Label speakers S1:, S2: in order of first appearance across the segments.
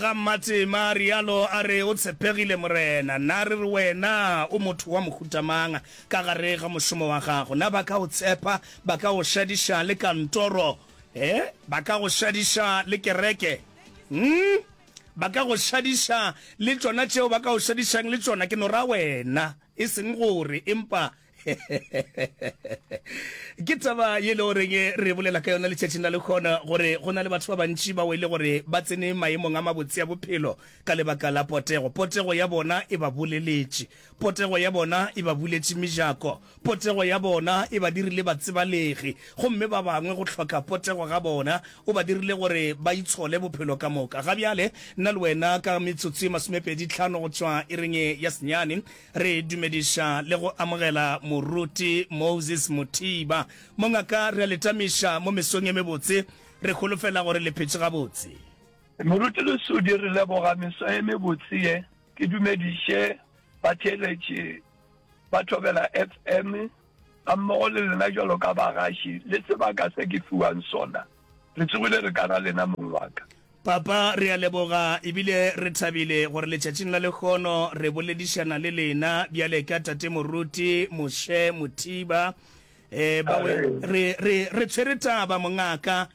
S1: Ga Mmatema a realo a re, O tshepegile, Morena. Na re re wena o motho wa mohuta mang ka gare ga mošomo wa gago? Na ba ka o tshepa? Ba ka go šadiša le kantoro? E, ba ka go šadiša le kereke? Hm? Ba ka go šadiša le tšona tšeo ba ka go šadišang le tšona? Ke no ra wena, e seng gore, empa Ke taba ye le goreng re bolela ka yona letšatšing la lekgono, gore go na le batho ba bantši bao e le gore ba tsene maemong a mabotse a bophelo ka lebaka la potego. Potego ya bona e ba boleletše. Potego ya bona e ba buletše mejako. Potego ya bona e ba dirile batsebalegi. Gomme ba bangwe go hloka potego ga bona o ba dirile gore ba itshole bophelo ka moka. Ga bjale nna le wena ka metsotso e masomepedi tlhano go tšwa iring ya senyane Re dumediša le go amogela Moruti Moses Mothiba. Mongaka, re a le tamiša mo mesong e mebotse. Re holofela gore le phetše gabotse.
S2: Moruti Lesodi, re leboga meso e mebotse ye. Ke dumediše batheeletši ba Thobela FM gammogo le lena bjalo ka bagaši le sebaka se ke fiwang sona. Re tsogile re ka ra lena mong wa ka.
S1: Papa, re a leboga ebile re thabile gore letšatšing la lehono re boledišana le lena bjale ka Tate Moruti Moshe Mothiba. Eh, ba re, re, re tshwere taba mongaka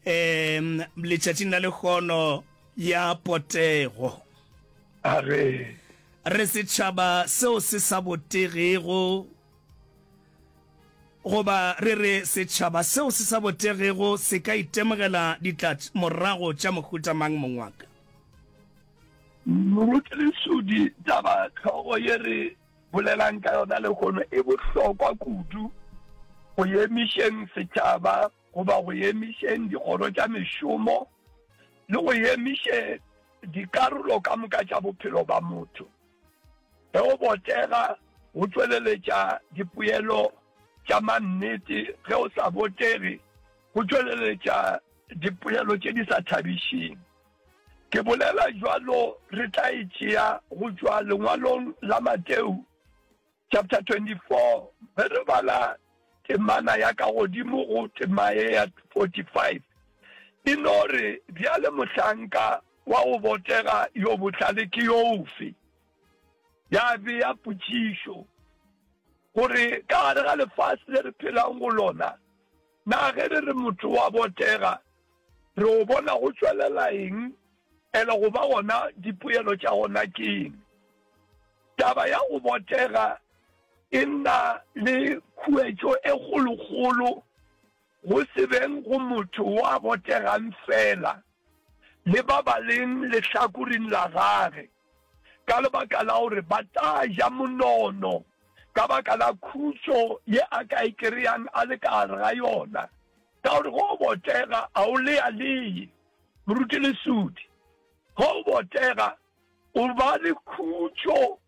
S1: eh, letšatšing la lehono ya potego.
S2: A re.
S1: Re setšhaba seo se sa botegego. Goba re re setšhaba seo se sa botegego se ka itemogela ditlamorago tša mohuta mang, mong wa ka?
S2: Moruti Lesodi, taba hlogo ye re bolelang ka yona lehono e bohlokwa kudu go emišeng setšhaba goba go emišeng dikgoro tša mešomo le go emiše dikarolo ka moka tša bophelo ba motho. Ge o botega, go tšweleletša dipoelo tša mannete, ge o sa botege, go tšweleletša dipoelo tše di sa thabišeng. Ke bolela bjalo re tla e tšea go tšwa lengwalong la Mateo chapter 24 ge re bala temana ya ka godimo go tema ye ya 45 e no re, Bjale mohlanka wa go botega yo bohlale ke yo ofe? Ya bea potšišo gore ka gare ga lefase le re phelang go lona, na ge re re motho wa botega, re o bona go tšwelela eng, ele go ba gona dipoelo tša gona ke eng? Taba ya go botega e na le khuetšo e kgolokgolo go se beng go motho wa botegang feela le ba ba leng lehlakoring la gage, ka lebaka la gore ba tla ja monono ka baka la khutšo ye a ka e kereyang a le ka gare ga yona. Ka gore ge o botega a o lealee, Moruti Lesodi. Ge o botega O ba le khutšo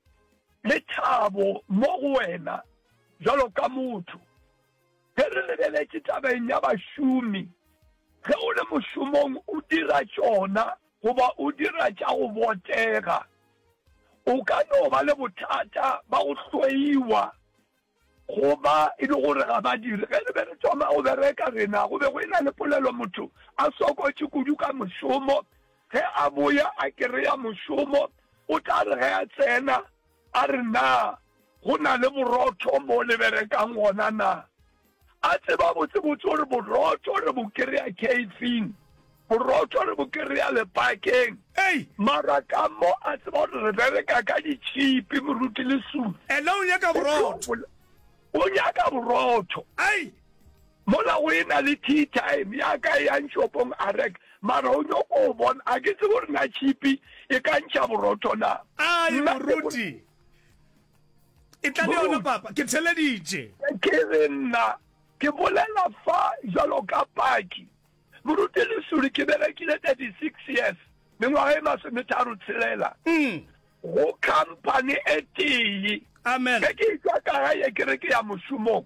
S2: le thabo mo go wena bjalo ka motho. Ge re lebeletše tabeng ya bašomi, ge o le mošomong o dira tšona goba o dira tša go botega, o ka no ba le bothata ba go hloiwa Go ba e le gore ga ba dire. Ge re be re thoma go bereka rena, go be go e-na le polelo motho a sokotše kudu ka mošomo. Ge a boya a kereya mošomo, o tla re ge a tsena a re, Na go na le borotho mo le berekang gona na? A tseba botsebotse gore borotho re bo kereya khefing, borotho re bo kereya lepakeng.
S1: Ei!
S2: Mara ka mo a tseba gore re bereka ka ditšhipi, Moruti Lesulu.
S1: Ena o nyaka borotho.
S2: O nyaka borotho.
S1: Ei!
S2: Mola go e na le tea time ya ka e yang shopong a reka, mara o nyoko o bona, a ke tsebe gore na tšhipi e ka ntšha borotho na.
S1: Ai, Moruti. E tla le yona, Papa. Ke theleditše.
S2: Ke re nna ke bolela fa jwalo ka paki. Moruti Lesuli, ke berekile 36 years, mengwaga e masometharo tshelela, go khamphani e tee.
S1: Amen.
S2: Ge ke etšwa ka gae ke re ke ya mošomong,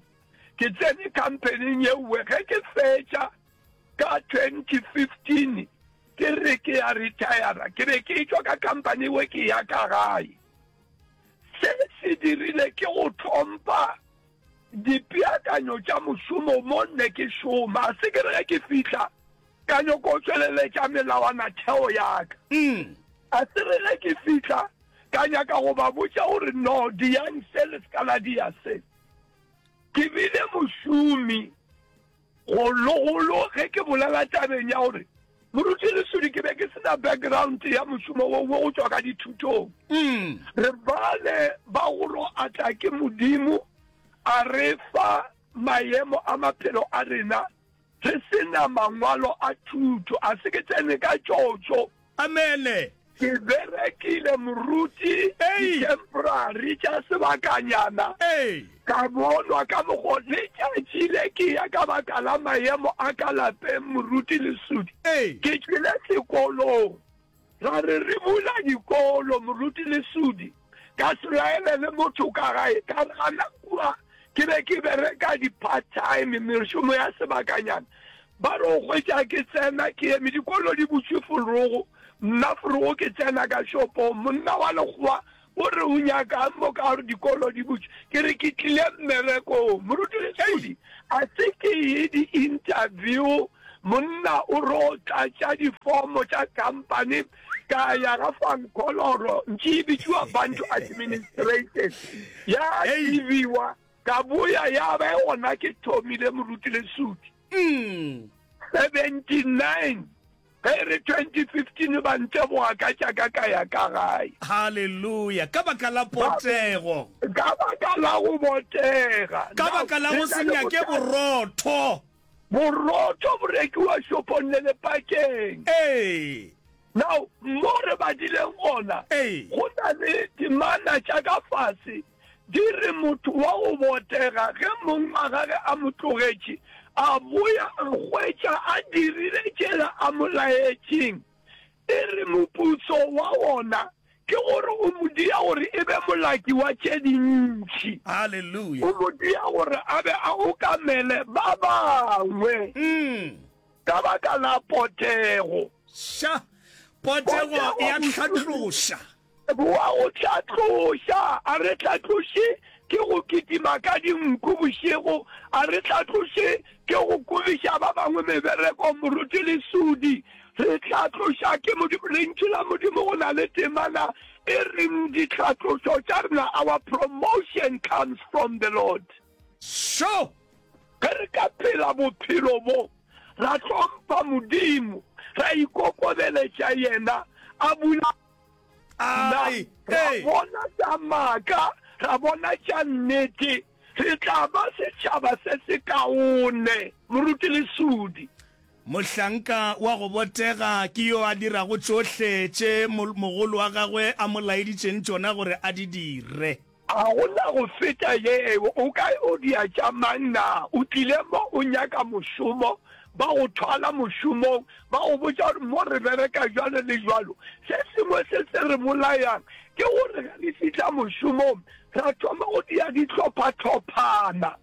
S2: ke tsene khamphaning yeuwe. Ge ke fetša ka 2015 ke re ke ya retire, ke be ke etšwa ka khamphani ewe ke ya ka gae. Se se dirile ke go hlompha dipeakanyo tša mošomo mo nne ke šoma. Se ke re ge ke fihla. Ka nyoko tšweleletša melawanatheo ya ka. A se re ge ke fihla, ka nyaka go ba botša gore, No, diyang se, le se ka la diya se. Ke bile mošomi, gologolo ge ke bolela tabeng ya gore Moruti Lesodi ke be ke se na background ya mošomo wo wo go tšwa ka dithutong. Re bale ba go ro atla ke Modimo a re fa maemo a maphelo a rena re se na mangwalo a thuto. A se ke tsene ka tšotšo.
S1: Amene.
S2: Ke berekile moruti di-temporary tša sebakanyana, ka bonwa ka mokgo letšatši le ke ya ka baka la maemo a ka lapeng moruti Lesudi. Ke tšwile sekolong. Ra re re bula dikolo, Moruti Lesudi, ka se laele le motho ka gae. Ka re gana kua ke be ke bereka di-part-time, mešomo ya sebakanyana. Ba re o hwetša ke tsena ke eme, dikolo di butšwe forogo, nna forogo ke tsena ka shopong. Monna wa lekgowa o re o nyakang mo ka gore dikolo di butšwe? Ke re ke tlile mmerekong. Moruti Lesudi, a se ke ye di-interview Monna o ro tlatša difomo tša khampani ka ya ga Van Kholoro, ntši e bitšiwa Bantu Administration, ya tsebiwa ka boya ya ba gona ke thomile Moruti Lesudi. 79 ge e re 2015 ba nteboga ka tša ka ka ya ka gae.
S1: Haleluya! Ka baka la potego.
S2: Ka baka la go botega.
S1: Ka baka la go se nyake borotho.
S2: Borotho bo rekiwa shopong le lepakeng.
S1: Ee.
S2: Now, mo re badileng gona,
S1: Ee.
S2: go na le temana tša ka fase di re motho wa go botega ge mong wa gage a mo tlogetše, a boya a hwetša a dirile tšela a mo laetšeng. E re moputso wa wona Ke gore o mo dia gore e be molaki wa tše dintši.
S1: Haleluya.
S2: O mo dia gore a be a okamele ba bangwe. Ka baka la potego.
S1: Ša. Potego e a hlatloša.
S2: Boa go hlatloša. A re hlatloše ke go kitima ka dinku bošego. A re hlatloše ke go kobiša ba bangwe mebereko, Moruti Lesodi. Re hlatloša ke Modimo. Lentšu la Modimo go na le temana e reng dihlatlošo tša rena, our promotion comes from the Lord.
S1: Sure.
S2: Ge re ka phela bophelo bo, ra hlompha Modimo, ra ikokobeletša Yena, a bula Na
S1: Ai,
S2: ra
S1: ei.
S2: bona tša maaka, ra bona tša nnete? Re tla ba setšhaba se sekaone. Moruti Lesudi.
S1: Mohlanka wa go botega ke yo a dirago tšohle tše mogolo wa gagwe a mo laeditšeng tšona gore a di dire.
S2: A go na go feta yeo. O ka o dia tša mang na? O tlile mo o nyaka mošomo, ba go thwala mošomong, ba go botša gore mo re bereka bjalo le bjalo. Se sengwe se se re bolayang ke gore ge re fihla mošomong ra thoma go dia dihlophatlhophana.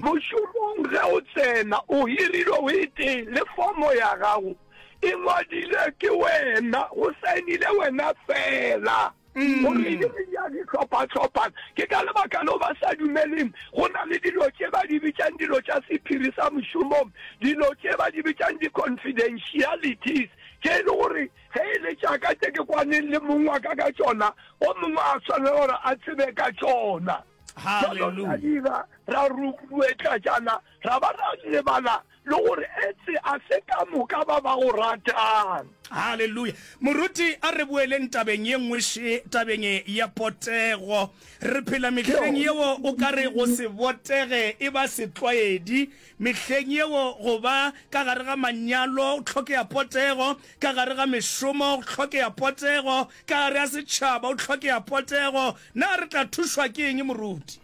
S2: Mošomong ge o tsena o hirilwe o e tee le fomo ya gago e ngwadilwe ke wena, go saenile wena fela. Gore e be ya dihlophahlopha. Ke ka lebaka leo ba sa dumeleng go na le dilo tše ba di bitšang dilo tša sephiri sa mošomong, dilo tše ba di bitšang di-confidentialities, tše e le gore ge e le tša ka tše ke kwaneng le mong wa ka ka tšona, o mongwe a swanela gore a tsebe ka tšona. Jalo ra dira, ra rutluetlatšana, ra ba ra lebala le gore etse a se ka moka ba ba go ratang.
S1: Haleluya. Moruti, a re boeleng tabeng ye nngwe še, tabeng ya potego. Re phela mehleng yeo o ka re go se botege e ba setlwaedi, mehleng yeo go ba ka gare ga manyalo go hlokega potego, ka gare ga mešomo go hlokega potego, ka gare ga setšhaba go hlokega potego. Na re tla thušwa ke eng, Moruti?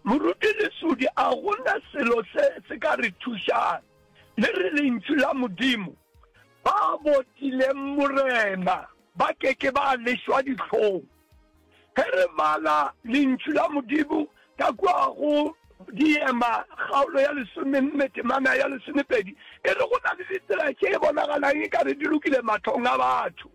S2: Moruti Lesodi, a go na selo se se ka re thušang? Le re Lentšu la Modimo, Ba botileng Morena ba ke ke ba lešwa dihlong. Ge re bala Lentšu la Modimo ka kua go Diema kgaolo ya lesomenne temana ya lesomepedi, e re go na le ditsela tše bonagalang e ka re di lokile mahlong a batho.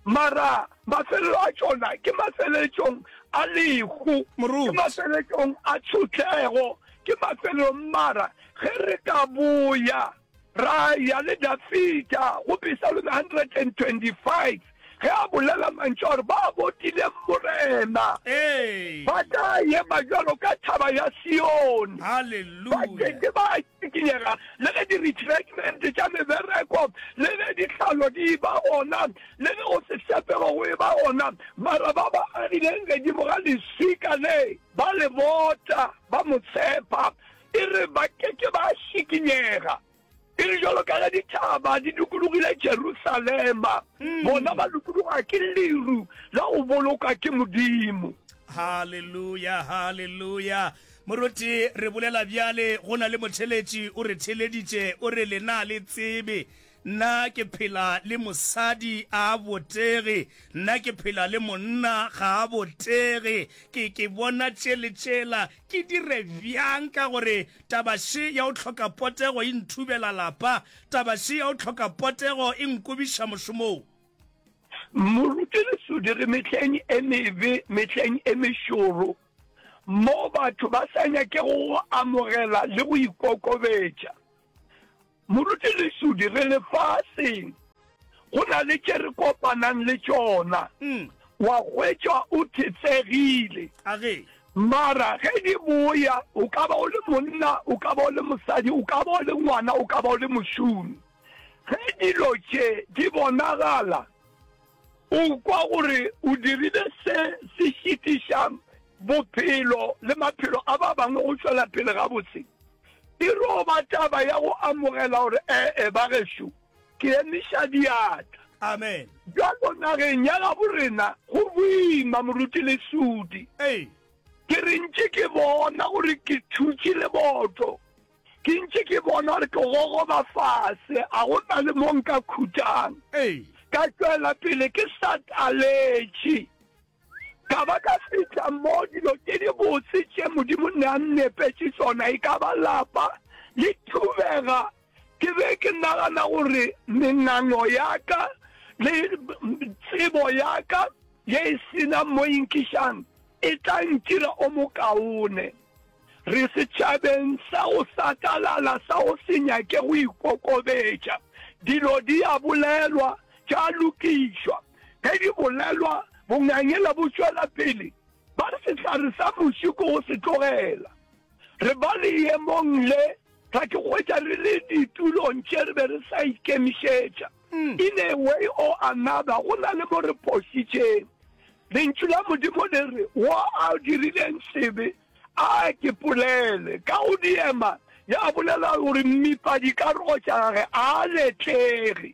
S2: Mara mafelelo a tšona ke mafeletšong a lehu, ke mafeletšong a tshotlego, ke mafelelong. Mara ge re ka boya. Ra ya le Dafida go Pisalome 125 ge a bolela mantšu a gore ba botileng Morena ba tla ema bjalo ka thaba ya Sione, ba ke ke ba šikinyega. Le ge di-retrenchment tša mebereko, le ge ditlhalo di eba gona, le ge go se tshepego go eba gona, mara ba ba agileng gedimo ga leswika le ba le bota, ba mo tshepa. E re ba ke ke ba šikinyega. E re bjalo ka ge dithaba di dikologile Jerusalema, bona ba dikologa ke leru la go boloka ke Modimo.
S1: Haleluya, haleluya. Moruti, re bolela bjale, go na le motheletši o re theleditše, o re lena le tsebe Nna ke phela le mosadi a a botege, nna ke phela le monna ga a botege, ke, ke bona tše le tšela, ke dire bjang ka gore taba še ya go hloka potego e nthubela lapa, taba še ya go hloka potego e nkobiša mošomong?
S2: Moruti Lesodi, re mehleng e mebe, mehleng e mešoro, moo batho ba sa nyakego go amogela le go ikokobetša. Moruti Lesodi, re lefaseng, go na le tše re kopanang le tšona, wa hwetšwa o thetsegile. Mara ge di boya, o ka ba o le monna, o ka ba o le mosadi, o ka ba o le ngwana, o ka ba o le mošomi. Ge dilo tše di bonagala, O kwa gore o dirile se se šitišang bophelo le maphelo a ba bangwe go tšwela pele gabotse. E ro ba taba ya go amogela gore, E-e, bagešo, ke emiša diatla.
S1: Amen.
S2: Bjalo nageng ya gabo rena go boima, Moruti Lesodi. Ke re ntše ke bona gore ke thutše leboto. Ke ntše ke bona gore ke gogoba fase, a go na le mo nka khutang. Ka tšwela pele ke sa taletše, ka ba ka fihla mo dilo tše dibotse tše Modimo ne a nnepetše tšona, e ka ba lapa le thubega. Ke be ke nagana gore mengango ya ka le tsebo ya ka ye e se nang mo e nkišang e tla ntira o mokaone. Re setšhabeng sa go satalala sa go se nyake go ikokobetša. Dilo di a bolelwa, tša lokišwa. Ge di bolelwa, bongangela bo tšwela pele. Ba re sehlare sa muši ke go se tlogela. Re ba leemong le, ra ke hwetša re le ditulong tše re be re sa ikemišetša. In a way or another, go na le mo re phošitšeng. Lentšu la Modimo le re, Wo a dirileng sebe, a ke polele. Ka go diema, ya bolela gore mmipa dikarogo tša gage a a letlege.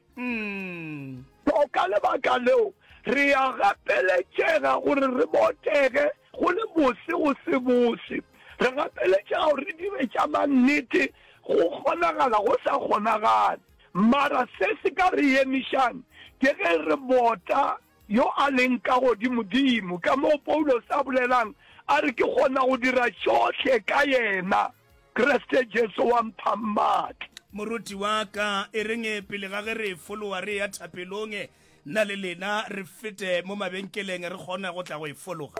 S2: So ka lebaka leo, re a gapeletšega gore re botege, go le bose go se bose. Re gapeletšega gore re dire tša mannete, go kgonagala go sa kgonagale. Mara se se ka re emišang ke ge re bota Yo a leng ka godimodimo, ka moo Paulos a bolelang, a re, Ke kgona go dira tšohle ka yena, Kriste Jesu wa mphang matla.
S1: Moruti wa ka, e reng pele ga ge re e fologa re eya thapelong, nna le lena re fete mo mabenkeleng re kgone go tla go e fologa?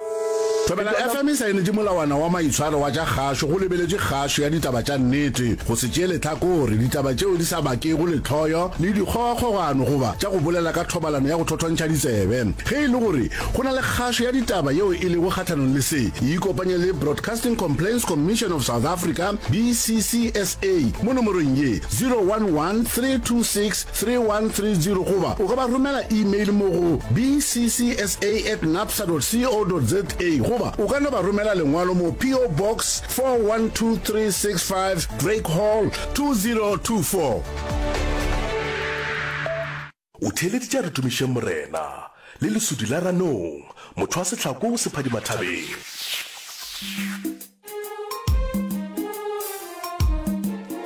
S3: Thobela FM e saenetše molawana wa maitshwaro wa tša kgašo go lebeletše kgašo ya ditaba tša nnete, go se tšee lehlakore, ditaba tšeo di sa bakego lehloyo le dikgogakgogano goba tša go bolela ka thobalano ya go thothontšha ditsebe. Ge e le gore go na le kgašo ya ditaba yeo e lego kgahlanong le se, ikopanye le Broadcasting Complaints Commission of South Africa, BCCSA, mo nomorong ye, 011 326 3130 goba o ka ba romela email mo go bccsa at napsa dot co dot za goba o ka no ba romela lengwalo mo PO Box 412365 Drake Hall 2024.
S4: O theeleditše a re tumišeng Morena, le lesudi la ranong, motho wa sehlako se phadima thabeng.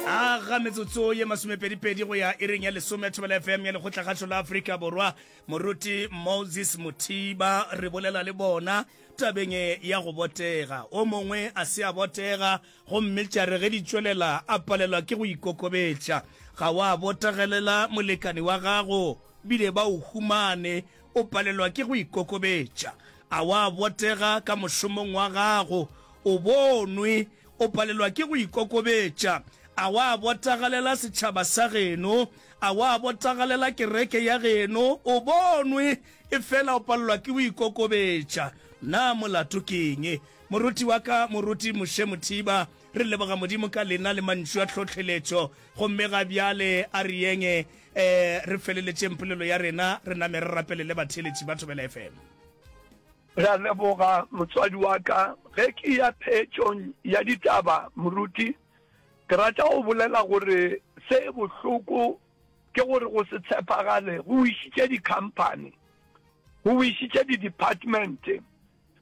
S1: A ga metsotso ye masomepedipedi go ya iring ya lesome Thobela FM ya Lekgotlakgašo la Afrika Borwa. Moruti Moses Mothiba re bolela le bona tabeng ya go botega. O mongwe a se a botega gomme tša re ge di tšwelela a palelwa ke go ikokobetša. Ga wa botegelela molekane wa gago bile ba o humane o palelwa ke go ikokobetša. A wa botega ka mošomong wa gago? O bonwe o palelwa ke go ikokobetša. A wa botagalela setšhaba sa geno? A wa botagalela kereke ya geno? O bonwe, efela o palelwa ke go ikokobetša. Na molato ke eng? Moruti wa ka, Moruti Moshe Mothiba, re leboga Modimo ka lena le mantšu a tlhohleletšo. Gomme ga bjale a re yeng eh, re feleletšeng polelo ya rena, re name re rapelele batheeletši ba Thobela FM.
S2: Re a leboga, motswadi wa ka. Ge ke ya phetšong ya ditaba, moruti, ke rata go bolela gore se bohloko ke gore go se tshepagale go wišitše dikhamphani, go wišitše di-department,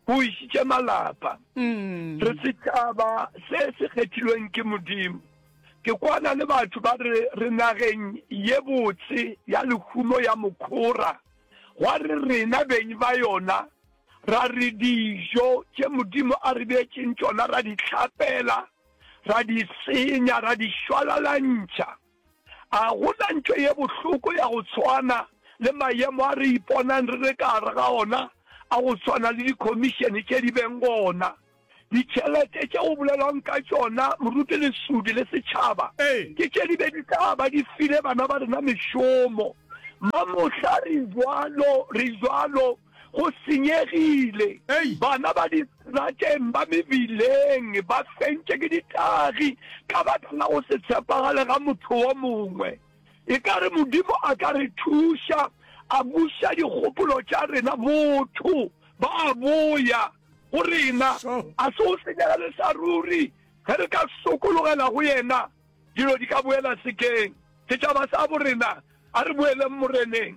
S2: go wišitše malapa. Re setšhaba se se kgethilweng ke Modimo. Ke kwana le batho ba re re nageng ye botse ya lehumo ya mokhora, gwa re rena beng ba yona ra re dijo tše Modimo a re beetšeng tšona ra di hlapela, ra di senya, ra di šwalalantšha. A go na ntho ye bohloko ya go tshwana le maemo a re iponang re le ka gare ga ona a go tshwana le dikhomišene tše di beng gona? Ditšhelete tše go bolelwang ka tšona, Moruti Lesudi le setšhaba, ke tše di be di tla ba di file bana ba rena mešomo. Mamohla re bjalo, re bjalo, go senyegile. Bana ba distrateng, ba mebileng, ba fentše ke ditagi ka baka la go se tshepagale ga motho wo mongwe. Ekare Modimo a ka re thuša, a buša dikgopolo tša rena, botho ba a boya go rena. A se go senyegele sa ruri ge re ka sokologela go yena, dilo di ka boela sekeng. Setšhaba sa borena, a re boeleng Moreneng.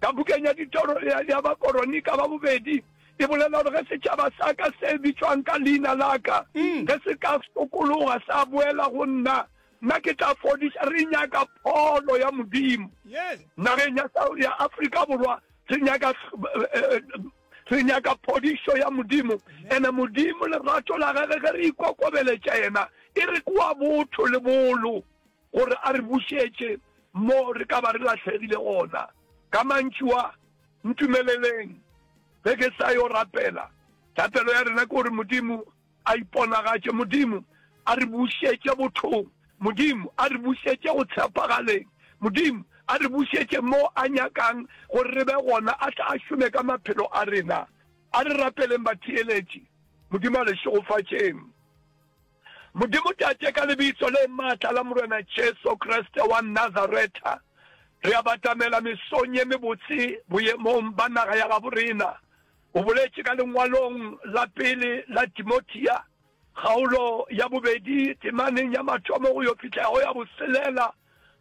S2: Ka bukeng ya Ditoro ya Bakoronika ba Bobedi e bolela gore ge setšhaba sa ka se bitšwang ka leina la ka, ge se ka sokologa sa boela go nna, nna ke tla fodiša. Re nyaka pholo ya Modimo nageng ya ya Afrika Borwa. Re nyaka re nyaka phodišo ya Modimo. Ene Modimo lerato la gage ge re ikokobeletša yena e re ke wa botho le bolo gore a re bušetše mo re ka ba re lahlegile gona. Ka mantšu a, ntumeleleng ge ke sa yo rapela. Thapelo ya rena ke gore Modimo a iponagatše, Modimo a re bušetše bothong, Modimo a re bušetše go tshepagaleng, Modimo a re bušetše mo a nyakang gore re be gona, a tle a šome ka maphelo a rena. A re rapeleng batheeletši. Modimo a le šegofatšeng. Modimo Tate, ka Lebitso le maatla la Morena Jesu Kriste wa Nazaretha, re a batamela mesong ye mebotse boemong ba naga ya gabo rena. O boletše ka lengwalong la pele la Timothea, kgaolo ya bobedi, temaneng ya mathomo go yo fihla go ya boselela,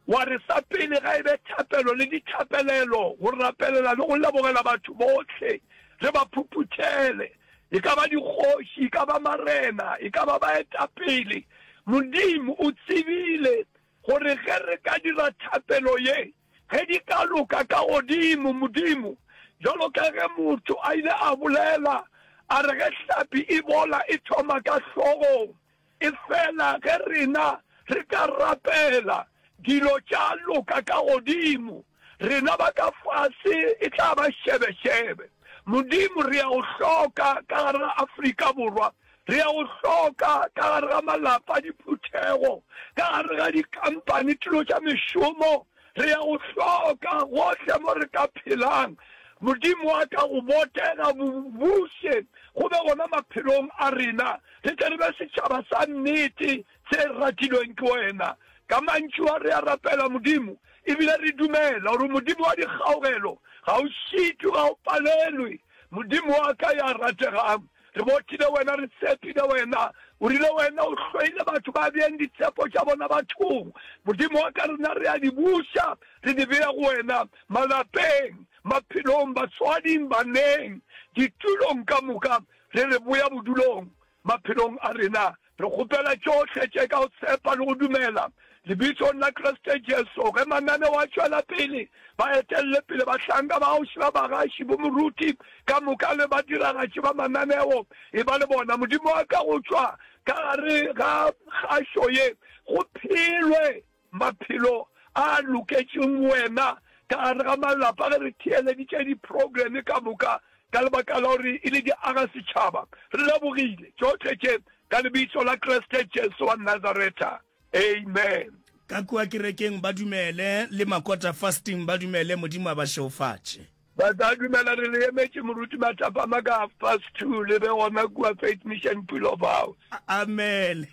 S2: Wa re, Sa pele ga e be thapelo le dithapelelo, go rapelela le go lebogela batho bohle, re ba phuphuthele, e ka ba dikgoši, e ka ba marena, e ka ba baetapele. Modimo o tsebile gore ge re ka dira thapelo ye, ge di ka loka ka godimo, Modimo, bjalo ka ge motho a ile a bolela, a re ge hlapi e bola e thoma ka hlogong, Efela ge rena re ka rapela, dilo tša loka ka godimo, rena ba ka fase e tla ba šebešebe. Modimo, re a go hloka ka gare ga Afrika Borwa. Re a go hloka ka gare ga malapa, diphuthego, ka gare ga dikampani, tulo tša mešomo. Re a go hloka gohle mo re ka phelang. Modimo wa ka, go botega, bobuše go be gona maphelong a rena, re tle re be setšhaba sa nnete se ratilweng ke wena. Ka mantšu a re a rapela, Modimo, e bile re dumela gore Modimo wa dikgaogelo ga o šitwe, ga o palelwe. Modimo wa ka ya rategang, Re botile wena, re tshepile wena. O rile wena o hloile batho ba beang ditshepo tša bona bathong. Modimo wa ka, rena re a di buša, re di bea go wena, malapeng, maphelong, batswading, baneng, ditulong ka moka, re re boya bodulong maphelong a rena. Re kgopela tšohle tše ka go tshepa le go dumela Lebitsong la Kriste Jesu. Ge mananeo a tšwela pele, ba etelle pele bahlanka ba gago ba bagaši, bomoruti ka moka le badiragatši ba mananeo. Eba le bona, Modimo wa ka, go tšwa ka gare ga kgašo ye go phelwe maphelo a loketšeng wena ka gare ga malapa ge re theeleditše diprogramme ka moka ka lebaka la gore e le di aga setšhaba. Re lebogile tšohle tše ka lebitso la Kriste Jesu wa Nazaretha. Amen.
S1: Ka kua kerekeng ba dumele, le Makota Fasting ba dumele, Modimo a ba šeofatše.
S2: Ba tla dumela re le emetše Moruti mathapama ka half past 2 le be gona kua Faith Mission Pulov House.
S1: Amen.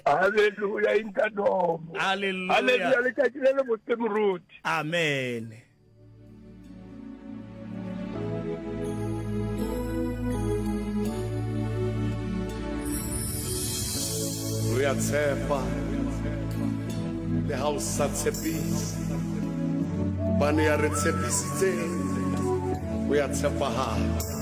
S2: Hallelujah Inkadomo.
S1: Hallelujah.
S2: Hallelujah letšatši le le botse Moruti.
S1: Amen.
S5: Re a tshepa le ha o sa tshepise, hobane ya re tshepisitseng o ya tshepahala.